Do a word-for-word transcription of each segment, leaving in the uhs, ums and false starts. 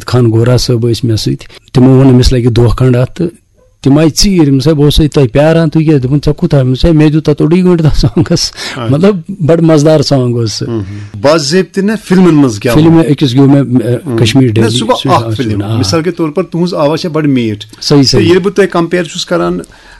خان گورا صٲب ٲسۍ مےٚ سۭتۍ۔ تِمو ووٚن، أمِس لَگہِ دۄہ کھنٛڈ اَتھ، تہٕ تِم آیہِ ژیٖرۍ۔ أمِس ہے، بہٕ اوسُس تۄہہِ پیاران، تُہۍ کیٛازِ؟ دوٚپُن، "ژےٚ کوٗتاہ؟" أمِس ہے، "مےٚ دیُت تَتھ اوٚڑُے گٲنٛٹہٕ تَتھ songس۔" آ۔ مطلب، بَڑٕ مَزٕدار song اوس سُہ۔ باضٲبطہٕ نہ فِلمَن منٛز گٮ۪وُن۔ فِلمہِ أکِس گیوٚو مےٚ، اَ، کشمیر نہ، ڈیلی، سُہ گوٚو سُہ چھُ اَکھ اَکھ فِلم۔ فِلم، آ۔ مثال کے طور پر تُہٕنٛز آواز چھےٚ بَڑٕ میٖٹھ۔ صحیح، تہٕ صحیح۔ ییٚلہِ بہٕ تۄہہِ compare چھُس کران،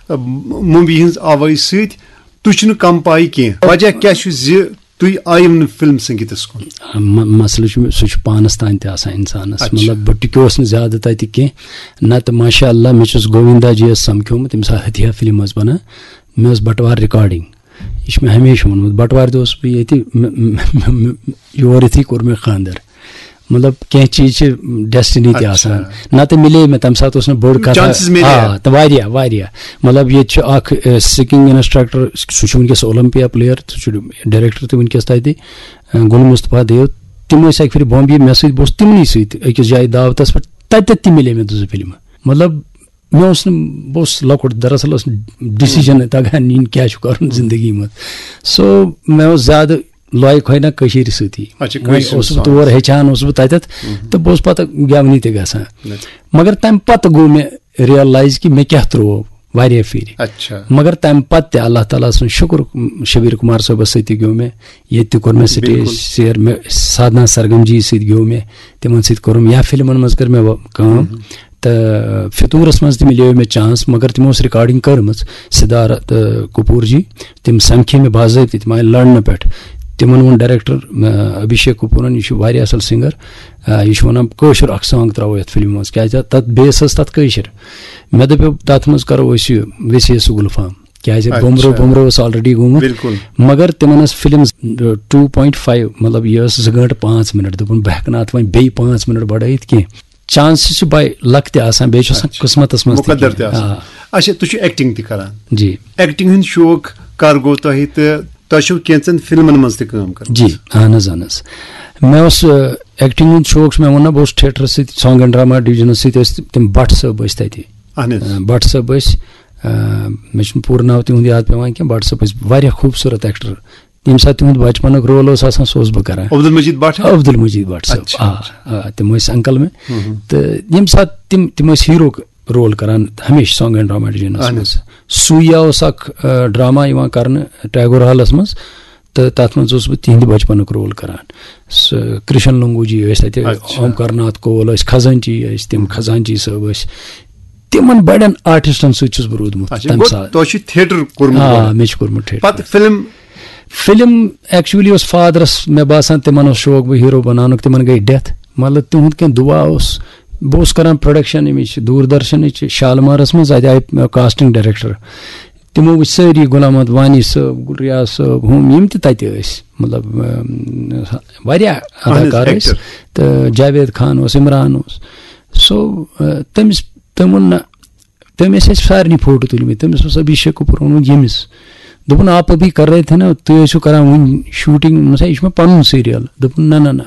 اَ، موٗوی ہٕنٛز آوازِ سۭتۍ، تُہۍ چھِو نہٕ کم پایہِ کینٛہہ۔ وجہ کیٛاہ چھُ زِ تُہۍ آیِو نہٕ فِلم سنگیٖتس کُن؟ م-، مسلہٕ چھُ، سُہ چھُ پانَس تام تہِ آسان اِنسانَس۔ اچھا۔ مطلب، بہٕ ٹِکیوس نہٕ زیادٕ تَتہِ کینٛہہ۔ نَتہٕ، ماشاء اللہ، مےٚ چھُس گووِندا جی یَس سَمکھیومُت، ییٚمہِ ساتہٕ ہتھیہ فِلم ٲس بَنان، مےٚ ٲس بَٹوار recording۔ یہِ چھُ مےٚ ہمیشہِ ووٚنمُت، بَٹوارِ دۄہ اوسُس بہٕ ییٚتہِ، مےٚ، مےٚ، مےٚ، مےٚ، یور یِتھُے کوٚر مےٚ خانٛدر۔ مطلب، کینٛہہ چیٖز چھِ destiny تہِ اچھا۔ آسان۔ نَتہٕ مِلے مےٚ تَمہِ ساتہٕ اوس نہٕ بٔڑ کَتھا۔ Chances مِلے۔ آ، تہٕ واریاہ، واریاہ۔ مطلب، ییٚتہِ چھُ اَکھ، اَ، singing instructor، سُہ چھُ وٕنکیٚس Olympia player، سُہ چھُ director تہِ وٕنکیٚس تَتہِ، اَ، گُل مصطفیٰ دیو۔ تِم ٲسۍ اَکہِ پھِرِ بامبے، مےٚ سۭتۍ، بہٕ اوسُس تِمنٕے سۭتۍ أکِس جایہِ دعوتَس پٮ۪ٹھ، تَتٮ۪تھ تہِ مِلے مےٚ زٕ فِلمہٕ۔ مطلب، مےٚ اوس نہٕ، بہٕ اوسُس لۄکُٹ، دراصل اوس decision تگان نِنۍ کیٛاہ چھُ کَرُن زندگی منٛز۔ So، مےٚ اوس زیادٕ لایق ہۄے نہ کٔشیٖرِ سۭتی۔ اچھا، وۄنۍ کٲشِر اوسُس بہٕ song۔ تور ہیٚچھان، اوسُس بہٕ تَتٮ۪تھ، تہٕ بہٕ اوسُس پَتہٕ گٮ۪ونٕے تہِ گژھان۔ اچھا۔ مگر تَمہِ پَتہٕ گوٚو مےٚ realize کہِ مےٚ کیٛاہ ترٛوو واریاہ پھِرِ۔ اچھا۔ مگر تَمہِ پَتہٕ تہِ اللہ تعالیٰ سُنٛد شُکُر، شبیٖر کُمار صٲبَس سۭتۍ تہِ گیوٚو مےٚ، ییٚتہِ تہِ کوٚر مےٚ stage بِلکُل۔ share، مےٚ سادھنا سرگم جی سۭتۍ گیوٚو مےٚ، تِمَن سۭتۍ کوٚرُم، یا فِلمَن منٛز کٔر مےٚ وۄ-، کٲم۔ تہٕ فِطوٗرَس منٛز تہِ مِلیو مےٚ chance، مگر تِمو ٲس recording کٔرمٕژ، سِدھارتھ، آ، کپوٗر جی، تِم سَمکھے مےٚ باضٲبطہٕ، تِم آیہِ لَڑنہٕ پٮ۪ٹھ۔ تِمَن ووٚن director، آ، ابھیشیک کپوٗرَن، "یہِ چھُ واریاہ اَصٕل singer، آ، یہِ چھُ وَنان کٲشُر اَکھ song ترٛاوو یَتھ فِلمہِ منٛز، کیٛازِ تَتھ base ٲس تَتھ کٲشِر۔" مےٚ دوٚپ، "تَتھ منٛز کَرو أسۍ یہِ ویسے سُہ گُلفام، کیٛازِ اچھا۔ بُمرو، بُمرو اوس already گوٚمُت۔" بِلکُل۔ مگر تِمَن ٲس فِلم two point five، مطلب، یہِ ٲس زٕ گٲنٛٹہٕ پانٛژھ مِنٹ۔ دوٚپُن، "بہٕ ہٮ۪کہٕ نہٕ اَتھ وۄنۍ بیٚیہِ پانٛژھ مِنٹ بَڑٲیِتھ کینٛہہ۔" Chances چھِ by luck تہِ آسان، بیٚیہِ چھُ آسان اچھا۔ قٕسمتَس منٛز تہِ مُقدر تہِ کینٛہہ۔ آسان۔ آ۔ اچھا، تُہۍ چھِو acting تہِ کران۔ جی۔ Acting ہُنٛد شوق کر گوٚو تۄہہِ تہٕ تۄہہِ چھُو کینٛژن فِلمَن منٛز تہِ کٲم کٔرمٕژ؟ جی، اہن حظ، اہن حظ۔ مےٚ اوس، آ، acting ہُنٛد شوق، مےٚ ووٚن نہ، بہٕ اوسُس theatre سۭتۍ، song and drama division سۭتۍ ٲسۍ تِم بٹ صٲب ٲسۍ تَتہِ۔ اہن حظ۔ آ، بٹ صٲب ٲسۍ، آ، مےٚ چھُنہٕ پوٗرٕ ناو تِہُنٛد یاد پٮ۪وان کینٛہہ، بٹ صٲب ٲسۍ واریاہ خوٗبصوٗرت actor۔ ییٚمہِ ساتہٕ تِہُنٛد بچپنُک role اوس آسان، سُہ اوسُس بہٕ کران۔ عبدالمجید بٹ؟ عبدالمجید بٹ صٲب، اچھا۔ آ، آ، تِم ٲسۍ uncle مےٚ۔ ہُم ہُم۔ تہٕ ییٚمہِ ساتہٕ تِم، تِم ٲسۍ hero-ک role کران ہمیشہِ song and drama division-س اہن منٛز۔ حظ۔ سوٗیا اوس اکھ، آ، drama یِوان کرنہٕ ٹیگور hall-س منٛز، تہٕ تتھ منٛز اوسُس بہٕ تِہنٛدِ بچپنُک role کران۔ سُہ کرشن لنگو جی ٲسۍ تتہِ، اچھا۔ اومکار ناتھ کول ٲسۍ، خزانچی ٲسۍ تِم، خزانچی صٲب ٲسۍ۔ تِمن بڑٮ۪ن artist-ن سۭتۍ چھُس بہٕ روٗدمُت اچھا، تمہِ گوٚو ساتہٕ۔ تۄہہِ چھُ theatre کوٚرمُت آ، گۄڈٕ؟ مےٚ چھُ کوٚرمُت theatre۔ پتہٕ فِلم؟ فِلم actually اوس father-س، مےٚ باسان، تِمن اوس شوق بہٕ hero بناونُک، تِمن گٔے death۔ مطلب، تِہُنٛد کینٛہہ دُعا اوس۔ بہٕ اوسُس کران production اَمِچ، دوٗردرشنٕچ، شالمارس منٛز، اَتہِ آیہِ casting director۔ تِمو وٕچھ سٲری، غلام محمد وانی صٲب، گُل ریاض صٲب، ہُم، یِم تہِ تَتہِ ٲسۍ، مطلب، اَم، واریاہ اہن حظ، اداکار ٲسۍ۔ Actor۔ تہٕ جاوید خان اوس، عمران اوس۔ So، آ، تٔمِس، تٔمۍ ووٚن، نہ، تٔمۍ ٲسۍ اَسہِ سارنٕے فوٹو تُلمٕتۍ۔ تٔمِس اوس ابھیشیک کپوٗر ووٚنمُت ییٚمِس۔ دوٚپُن، "آپ ابھی کر رہے تھے نا، تُہۍ ٲسِو کران وٕنہِ shooting؟" دوٚپمَس، "ہے، یہِ چھُ مےٚ پَنُن serial۔" دوٚپُن، "نہ، نہ، نہ،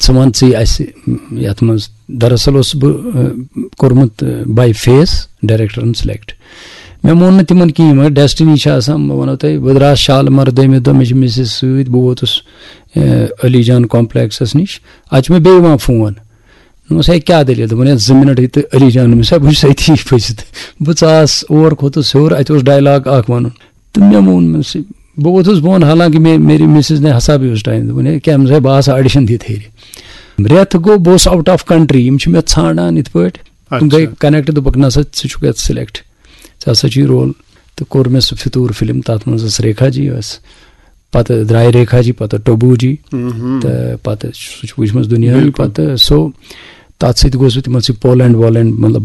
ژٕ وَن ژٕے اَسہِ، یَتھ منٛز۔" دراصل اوسُس بہٕ، آ، کوٚرمُت، آ، by face director-ن select۔ مےٚ مون نہٕ تِمَن کِہیٖنۍ، مگر destiny چھِ آسان۔ بہٕ وَنو تۄہہِ، بہٕ درٛاس شالمار دوٚیمہِ دۄہ، مےٚ چھِ missus سۭتۍ، بہٕ ووتُس، آ، علی جان complex-س نِش۔ اَتہِ چھُ مےٚ بیٚیہِ یِوان فون۔ دوٚپمَس، "ہے، کیٛاہ دٔلیٖل؟" دوٚپُن، "ہے، زٕ مِنَٹ یہِ تہٕ علی جان، مےٚ سا وٕچھ سۭتی پھٔسِتھ۔" بہٕ ژاس اور، کھوٚتُس ہیوٚر، اَتہِ اوس dialogue اَکھ وَنُن۔ تہٕ مےٚ مون، مےٚ سۭتۍ، بہٕ ووتُس بۄن، حالانکہِ مےٚ، میری مسز نے ہسا بھی اس time دوٚپُن، "ہے، کیٛاہ، مےٚ باسان audition دِتھ ہیٚرِ۔" رٮ۪تھ گوٚو، بہٕ اوسُس out of country، یِم چھِ مےٚ ژھانٛڈان یِتھ پٲٹھۍ۔ تِم اچھا۔ گٔے connect، دوٚپُکھ، "نہ سا، ژٕ چھُکھ یَتھ select، ژےٚ ہسا چھُے role۔" تہٕ کوٚر مےٚ سُہ فِطوٗر فِلم، تَتھ منٛز ٲس ریکھا جی ٲس۔ پَتہٕ درٛاے ریکھا جی، پَتہٕ ٹوبو جی، مہم۔ تہٕ پَتہٕ سُہ چھُ وٕچھمٕژ دُنیاہٕے۔ بِلکُل۔ پَتہٕ سُہ، تَتھ سۭتۍ گوس بہٕ تِمَن سۭتۍ پولینڈ وولینڈ، مطلب،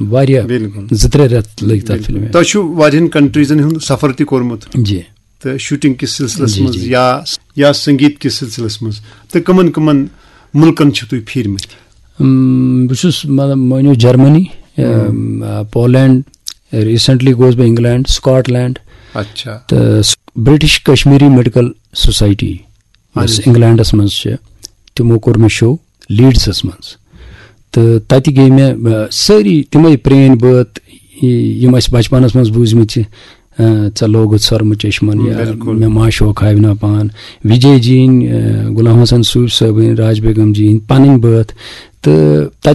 واریاہ بِلکُل۔ زٕ ترٛےٚ رٮ۪تھ لٔگۍ تَتھ بِلکُل۔ فِلمہِ۔ تۄہہِ چھُ واریاہَن countries-ن ہُنٛد سفر تہِ کوٚرمُت۔ جی۔ تہٕ shooting کِس سلسلس جی، منٛز جی۔ یا، یا سنگیت کِس سلسلس منٛز، تہٕ کٕمن کٕمن مُلکن چھِو تُہۍ پھیٖرمٕتۍ؟ اۭں، بہٕ چھُس، مطلب، مٲنِو، جرمنی، ہم۔ اۭں، پولینڈ، recently گوس بہٕ انگلینڈ، سکاٹ لینڈ۔ اچھا۔ تہٕ س-، برٹش کشمیری میڈیکل سوسائٹی، یۄس اہن حظ۔ انگلینڈس منٛز چھِ، تِمو کوٚر مےٚ show لیڈسس منٛز۔ تہٕ تتہِ گٔے مےٚ، آ، سٲری تِمے پرٛٲنۍ بٲتھ، ی-، یِم اَسہِ بچپنس منٛز بوٗزمٕتۍ چھِ، آ، "ژےٚ لوگُتھ سۄرمہٕ چشمن" یا بِلکُل۔ "مےٚ ما شوق ہاوِ نا پان"، وجے جی ہٕنٛدۍ، آ، غلام حسن صوٗفی صٲبٕنۍ، راج بیگم جی ہٕنٛدۍ پنٕنۍ بٲتھ۔ تہٕ تَتہِ